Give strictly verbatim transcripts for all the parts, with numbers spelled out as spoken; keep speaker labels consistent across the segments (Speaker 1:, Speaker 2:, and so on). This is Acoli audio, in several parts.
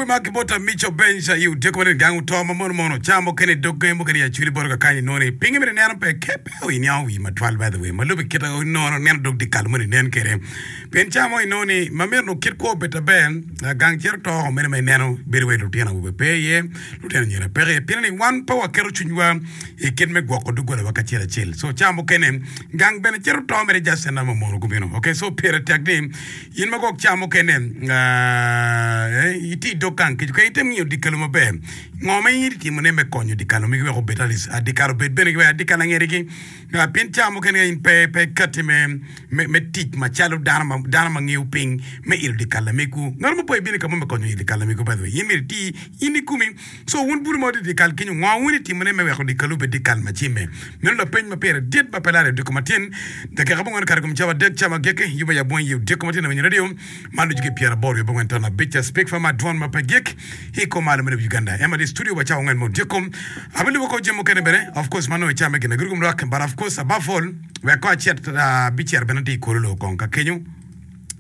Speaker 1: Yubbe ma ki bot Amico Bench i odyeko ma gang oto ma mono mono ca mukene dogge mukene i acwili boto kakany inongo ni pinge mere neno pe ke pe iniango wi matwal by the way ma lube kite inongo neno dog dikal moni nen kede pien ca mo inongo ni ma myero onongo kit kwo obed aber gang cito to oko mene ma ineno bedo wai lutino awobe pe iye lutino anyira peke iye pien ni wan pe waketo cwinywa i kit me gwoko doggola kacel acel so ca mukene gang bene cito to mere just en ma mono gubino okay so pire tek ni in ma gwok ca mukene itye i dog gang kic ka item ngiyo dikalo maber ngo ma in itimone me konyo dikalo megi wek obed at dikal obed bene wek dikal angerigi pien ca mukene ka in pe pe ikati me me tic macalo dano ma dano ma ngiyo piny me ilo dikal lamegwu ngat mo pe ibino ka mo me konyo ilo dikal lamegwu by the way in myero iti in ikomi so wun bulu ma wutye i dikal kenyo ngo wun itimone me weko dikalu obed dikal ma cimme meno lapeny ma pire dit ma pe lare odiko matin dakika abongwen okato i kom cawa adek cawa agikki yuba ya bwong i odiko matin awinyo radio man ducu ki pyeraboro wiye abongwen ton abic speak fa ma dwon ma pe gik i kom malo me lobo Uganda ema di studio wa cawa angwen me odiko abilubo ko jami mukene bene of course ma nongo i cawa me gin aguru kom lwak but of course above all wek ko acit abicito bene atye i Kololo kong ka kenyo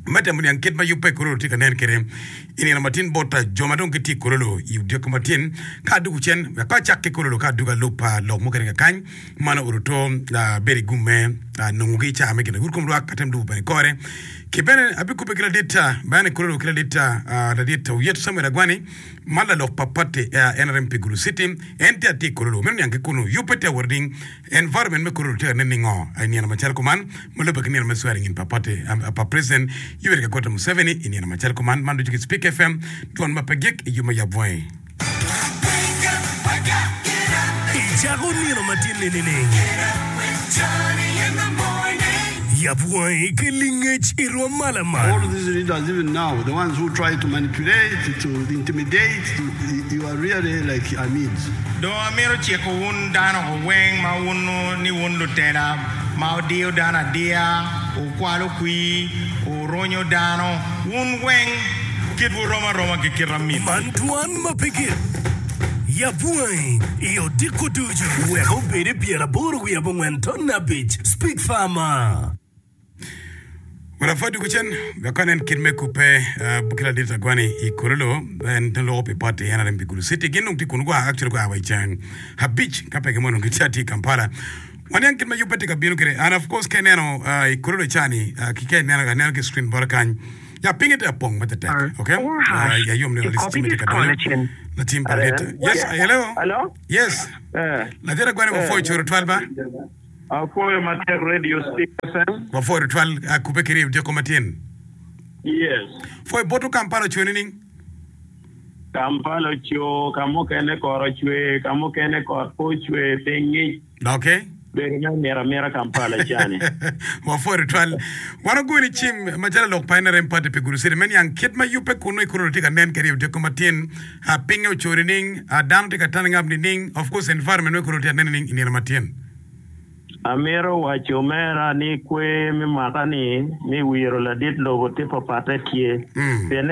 Speaker 1: me temo niang kit ma yub pa i Kololo tye ka nen kwede i nino matin bot jo ma dong gitye i Kololo i odiko matin ka adugo cen wek ko acak ki Kololo ka adugo alub pa lok mukene kakany man oruto bedo i gum me nongogi i cawa me gin agur kom lwak atem lubo bene kore ki bene abikubbe ki ladit bene i Kololo ki ladit ladit Oyet Samuel Agwani ma lalok pa pati N R M pi Gulu City en tye atye i Kololo meno niang ki kunu yubbe tye awot ding environment me Kololo tye ka nen ningo i nino macalo kuman ma lubbe ki nino me swearing in pa party pa President Yoweri Kaguta Museveni i nino macalo kuman man ducu ki Speak F M dwon ma pe gik i yub ma yab wangi.
Speaker 2: Icako nino matin-ni nining? Yab wangi ki lingec i rwom ma lamal.
Speaker 3: All these leaders even now, the ones who try to manipulate, to intimidate, to, you are really like Amids.
Speaker 4: Dong amito ciko wun dano weng ma wunnu ni wun lutela ma wudiyo dano adiya, wukwalo kwir, wurunyo dano, wun weng kitwu rom aroma ki kit amit.
Speaker 2: Man dwan ma pe gik. Yab wangi i odiko ducu wek obed i pyeraboro wiye abongwen ton abic. Speak Farmer.
Speaker 1: Wek apwod dwogo cen wek anen kit me kubbe ki ladit Agwani i Kololo en loko pi party N R M pi Gulu City gin dong tye kunu gua actually gua wa i ceng abic ka pe gimono gitye atye i Kampala waniang kit ma yubbe tye ka bino kwede and of course ka ineno i Kololo cani ki ka ineno aneno ki screen bota kany ya pinye tye apong ma tetek okay ayom ni ladit cime tye ka donyo latim pa ladit yes hello
Speaker 5: Hello?
Speaker 1: Yes
Speaker 5: Eh.
Speaker 1: Ladit Agwani wapwoyo coro twal ba.
Speaker 5: Apwoyo matek Radio Speak F M.
Speaker 1: Wapwoyo tutwal kubbe ki ryeyo dyeko matin.
Speaker 5: Yes.
Speaker 1: Pwoyo botwu Kampala ocwe nining?
Speaker 5: Kampala oco, ka mukene kot ocwe, ka mukene kot pe ocwe, piny ngic.
Speaker 1: Okay.
Speaker 5: Bedo me amito amita Kampala cani.
Speaker 1: Wapwoyo tutwal. Wan ogweni cim macalo lok pa N R M Party pi Gulu City me niang kit ma yubbe kunnu i Kololo tye ka nen kwede i odiko matin. Pinye oco nining? Dano tye ka turning up nining? Of course environment me Kololo tye ka nen nining i nino matin?
Speaker 5: Amito waco omera ni kwer me mwaka-ni me wiro ladit lobo tye papatte tye. Pien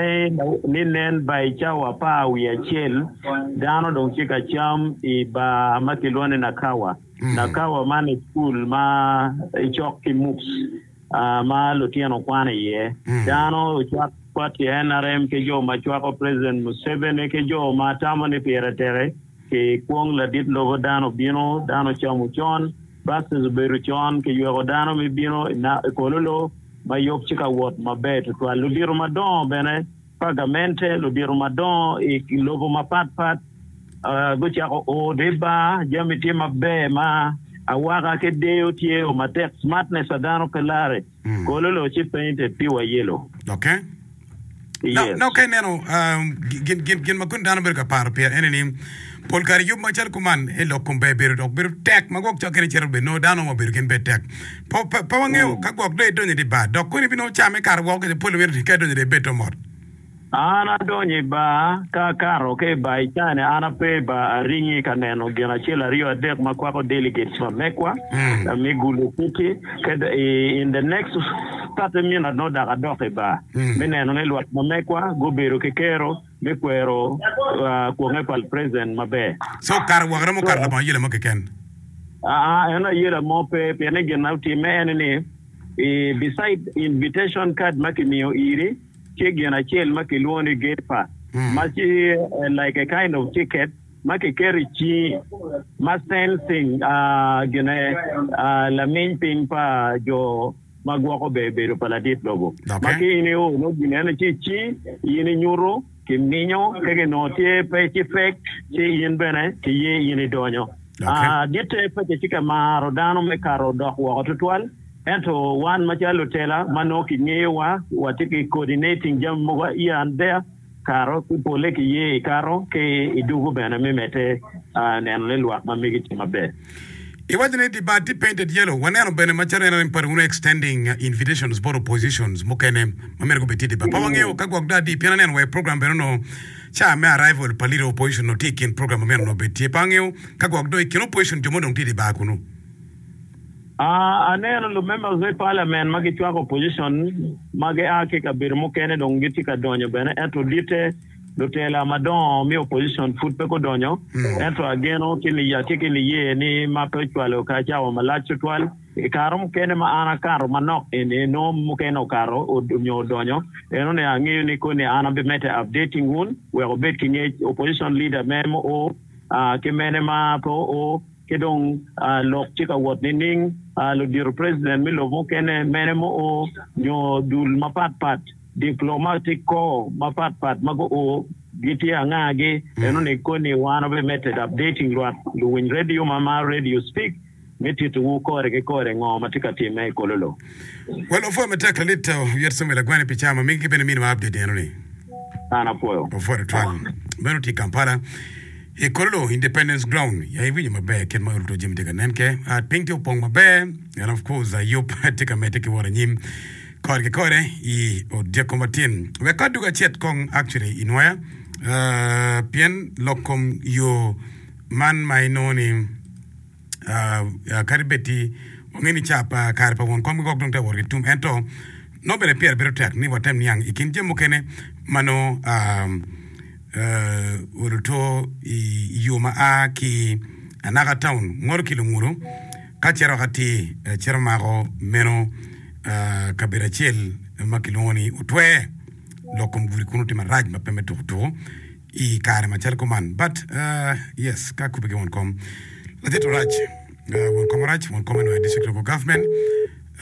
Speaker 5: ni nen by cawa apar wiye acel dano dong tye ka cam i bar ma kilwongo ni Nakawa. Nakawa man i cukul ma icok ki M U P S ma lutino kwano iye. Dano ocwak party N R M ki jo ma cwako President Museveni ki jo ma tamo ni pire tek ki kwong ladit lobo dano obino, dano ocamo con, buses obedo con, kiyweko dano me bino i Kololo ma yub tye ka wot maber tutwal. Ludito madongo bene pa gamente, ludito madongo i lobo mapat pat gucako o di bar, jami tye maber ma awaka ki deyo tye o matek, smartness pa dano pe lare. Kololo ci painted pure yellow.
Speaker 1: Okay.
Speaker 5: Yes.
Speaker 1: Dok ka ineno gin, gin, gin ma koni dano bedo ka paro pire ene ni pol kare yub macalo kuman i lok kom ber bedo dok bedo tek ma gwok cok kene cito bed nongo dano ma obedo gin bed tek. Pe, pe, pe wangeyo ka gwok dong idonyo i di bar dok koni ibinongo cam ikato woko kece pol wiro ka idonyo dong ibed to mot.
Speaker 5: An adonyo i bar ka akato ki i bar i cani an ape i bar aringi ka neno gin acel aryo adek ma kwako delegates ma mekwa me Gulu City kede in the next thirty minutes nongo dok adok i bar me neno ni lwak ma mekwa gubedo ki kero me kwero kwonge pa president maber.
Speaker 1: So kare woko romo kato labongo ayela mo keken?
Speaker 5: Aa eno ayela mo pe pien ni gin ma otimme ene ni beside invitation card ma kimiyo iri tye gin acel ma kilwongo ni gate pass. Ma ci like a kind of ticket ma kiketo i cingi ma sensing gine laminy piny pa jo ma gwoko ber bedo pa ladit lobo. Ma ki in io nongo ginene ci i cingi in inyuto ki minyo ka ginongo tye pe ci fek ci in bene ki ye in idonyo. Ditte pe kitye ka maro dano me kato dok woko tutwal ento wan macalo lutela ma nongo kingeyowa watye ki coordinating jami mogo here and there Kato ki pole ki ye i kato ki i dugu bene me medde neno ni lwak ma megi tye maber.
Speaker 1: Iwaco ni di bar tye painted yellow, waneno bene macalo en arem padi wunu extending invitations bot oppositions mukene ma myero gubed tye i di bar. Pe wangeyo ka gwok do adi pien aneno wa i program bene onongo ca me arrival pa leader of opposition onongo tye i kin program ma myero onongo obed tye. Pe wangeyo ka gwok do i kin opposition jo mo dong tye i di bar kunu.
Speaker 5: Aneno lumembers me parliament ma gicwako opposition ma gia ki i kabedo mukene dong gitye ka donyo bene ento ditte lutela madongo me opposition pud pe gudonyo ento ageno ki atye ki niye ni ma pe ocwalo ka cawa malac tutwal i kare mukene ma an akato manok eni nongo mukene okato nyo odonyo enoni angeyo ni koni an abimedde updating wun wek wubed ki ngec opposition leader mene ma oo ki mene ma pe oo. Ki dong lok tye ka wot nining? Ludito president me lobo mukene mene ma oo nyo dul mapat pat, diplomatic corps mapat pat ma guo gitye anga-gi? Eno ni koni wan wabimedde updating lwak luwiny radio ma maro radio speak me titowu kore ki kore ngo ma tye ka timme i Kololo.
Speaker 1: Well opwoyo matek lalit Oyet Samuel Agwani pi cawa ma migi ki bene miniwa update eno ni.
Speaker 5: An apwoyo.
Speaker 1: Opwoyo tutwal. Meno tye i Kampala. I Kololo Independence Ground ya iwinyo maber kit ma oluto jami tye ka nen ke. Piny tye opong maber and of course yub tye ka medde ki wot anyim kore ki kore i odyeko matin. Wek ka dwogo acit kong actually i nwoya pien lok kom yo man ma inongo ni Kadi bed ti wangeyo ni ca pa kare pa won kom ki gwok dong tye ka wot ki tum, ento nongo bene pire bedo tek ni watem niang i kin jami mukene ma nongo oluto i yo ma a ki Anaka Town ngolo ki Lunguru ka cito atir cito mako meno kabedo acel ma kilwongo ni Otwer. Lok kom gudi kunu tye marac ma pe me tuko tuko. I kare macalo kuman but yes ka kubbe ki won kom ladit orac won kom orac won kom eno district local government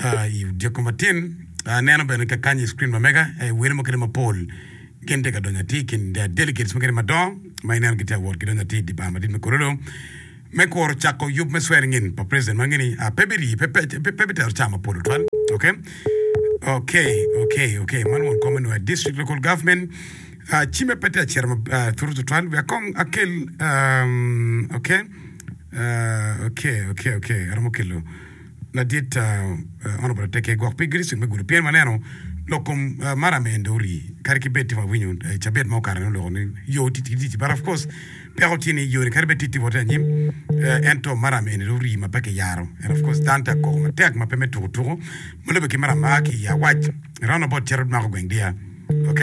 Speaker 1: i dyek matin aneno bene kakany i screen ma mega wele mukene mapol gin tye ka donyo atir i kin delegates mukene madongo ma ineno gitye ka wot gidonyo atir i dye bar madit me Kololo me kuro cako yub me swearing in pa president ma ngeni pe birii pe bitero ca mapol tutwal ok ok ok ok man won kom eno district local government Cime pe tye acito matut tutwal wek kong akel ok ok ok ok aromo kelo ladit honorable Ateke gwok pi district me Gulu pien waneno lok kom maram en dong ori kadi ki bed tye wawinyo cabit ma okato ni oloko ni yo tye ki tic but of course peko tye ni yo ni kadi bed tye tye wote anyim ento maram eni dong ori ma pe kiyaro and of course dano tye ka koko matek ma pe me tuko tuko ma lube ki maram ma a ki i awac round about cito mako gweng deya. Ok,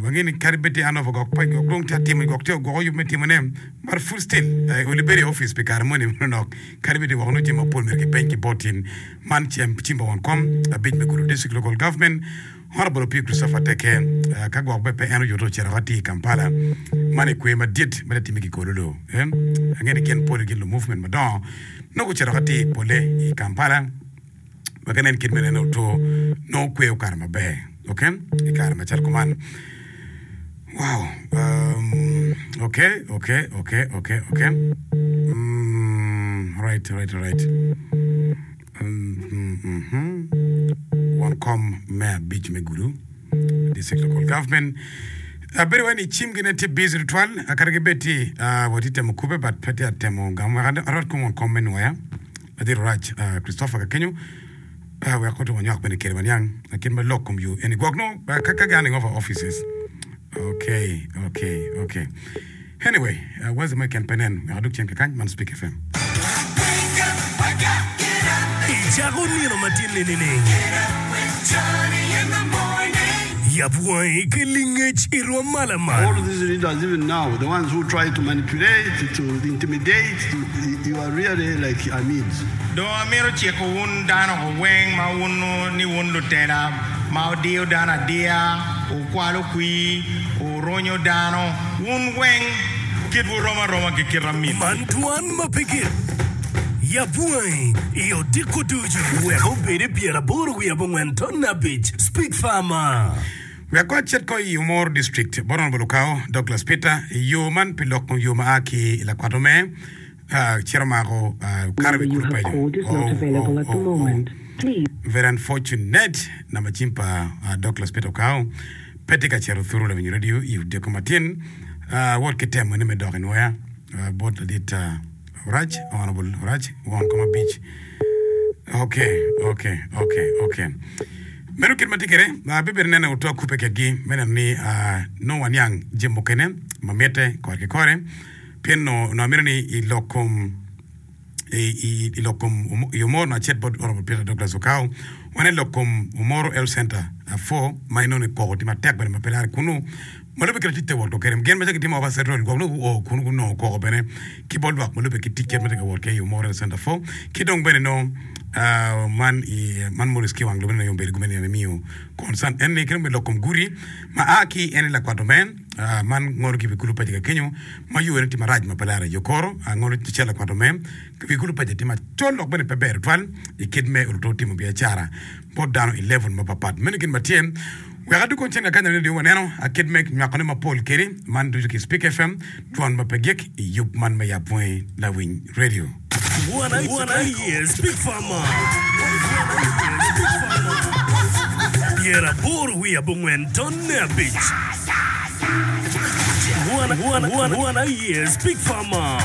Speaker 1: wangeyo ni kadi bed tye an over gwok pe gwok dong tye atimo gwok tye ogwoko yub me timone but full still oli bedo i office pi kare moni manok kadi bed woko nongo jami mapol myero kipeny ki bot in man cem cim pa won kom abic me Gulu District Local Government Honorable Opio Christopher Teke ka gwok bene pe en oyuto ocito ka tye i Kampala man i kwer madit ma tye time ki Kololo angeyo ni gin pole gin lu movement madongo nongo gucito ka tye pole i Kampala. Wek inen kit me neno oto nongo kweyo kare maber. Ok, i kare macalo kuman. Wow. Um, ok, ok, ok, ok, ok. Mm, right, right, right. Um, mm, mm -hmm. Won kom me abic me Gulu District Local Government. Abedo wai ni cim gine tye busy tutwal kadi gibed ti uh, watye temo kube but pe tye atemo gamo wek arot kom won kom me nwoya. Ladit Orac Christopher Kakenyo wek otum anywak bene kede waniang kit ma lok kom yo eni gwok nongo ka ganding over offices. Okay, okay, okay. Anyway, wazi mo keken pe nen wek adug cen kakany man Speak F M.
Speaker 2: Icako nino matinni nining? Yab wangi ki lingec i rwom ma lamal.
Speaker 3: All these leaders even now, the ones who try to manipulate, to intimidate, to, you are really like Amids.
Speaker 4: Dong amito ciko wun dano weng ma wun ni wun lutela ma wudiyo dano adiya, wukwalo kwir, wurunyo dano, wun weng kitwu rom aroma ki kit amin.
Speaker 2: Man dwan ma pe gik. Yab wangi i odiko ducu wek obed i pyeraboro wiye abongwen ton abic. Speak Farmer.
Speaker 1: Wek kong acit ko i Omoro District bot Honourable Okao Douglas Peter i yo man pi loko yo ma a ki i lakwat omer cito mako kato i wi
Speaker 6: Number you
Speaker 1: kulu
Speaker 6: have
Speaker 1: paco.
Speaker 6: called is not
Speaker 1: Oh,
Speaker 6: available
Speaker 1: oh,
Speaker 6: at the
Speaker 1: oh, oh.
Speaker 6: moment. Please.
Speaker 1: Very unfortunate namba cim pa uh, Douglas Peter Okao pe tye ka cito thuru lawinyo radio i odiko matin uh, wot ki temo ni me dok i nwoya uh, bot ladit uh, Orac, Honorable Orac, won kom abic. Okay, okay, okay, okay. Meno kit ma tye kwede, uh, bibedo nene otwa kubbe kedgi me neno ni uh, nongo waniang jami mukene ma mitte kore ki kore pien no onongo amito ni i lok kom i i lok kom i Omoro na acit bot Honorable Peter Douglas Okao wan i lok kom Omoro Health Center four ma inongo ni koko tye matek bene ma pe lare kunu ma lubbe kit tic te wot kwede gin macalo gitimo Oversight Role gwok nongo guo kunu gunongo koko bene ki bot lwak ma lubbe ki tic kit ma tye ka wot kwede i Omoro Health Center four ki dong bene nongo uh, man i man Maurice Kiwang lubbe nongo obedo gumene ni miyo concern en ni ki dong bene lok kom gudi ma a ki en i lakwat omen uh, man ngolo ki wi kulu paci ka kenyo ma yo ene tye marac ma pe lare yo koro uh, ngolo cel lakwat omen wi kulu paci tye macol dok bene pe ber tutwal i kit me oluto timo biacara bot dano i level mapapat meno gin ma tye wek aduko cen kakanya radio waneno akit me nywakone mapol kedi man ducu ki Speak F M dwon ma pe gik i yub man me yab wangi lawiny radio.
Speaker 2: One aye Speak Farmer. Pyeraboro wiye abongwen tonne abic. One, one, one, one aye Speak Farmer.